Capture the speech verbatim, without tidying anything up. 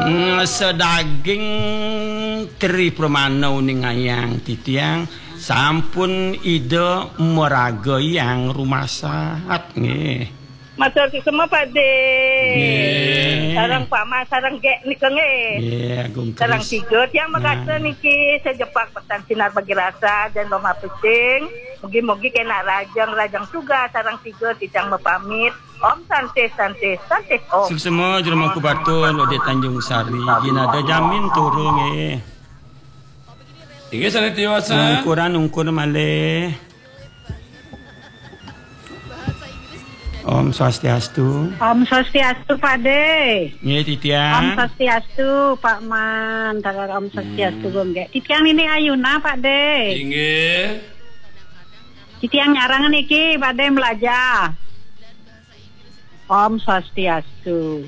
Mm, sedaging Tri Pramana uningayang titiang sampun Ida maragayang rumasat nggih. Matur suksma, Pak De. Nggih. Sareng Pak Mas, sareng Gek nika nggih. Nggih, Agung Sareng Kris. Tiga tiang makasa Nah. niki sejepak petan sinar bagi rasa dan lomah pesing. Mugi-mugi kena rajang, rajang tugas sareng tiga titiang mapamit. Om Santi, Santi, Santi Om. Suksma jero Mangku Batun, Ode Tanjung Sari. Ginada jamin turu nggih. Inggih, Santi Tiwasa. Ungkuran ungkur malih. Om Swastiastu. Om Swastiastu, Pak De. Nggih, Om titiang. Swastiastu, Pak Man. Tarar Om Swastiastu, Hmm. Gung Gek. Titiang Nini Ayuna, Pak De. Inggih. Titiang nyarang niki, Pak De, belajar. Om Swastiastu.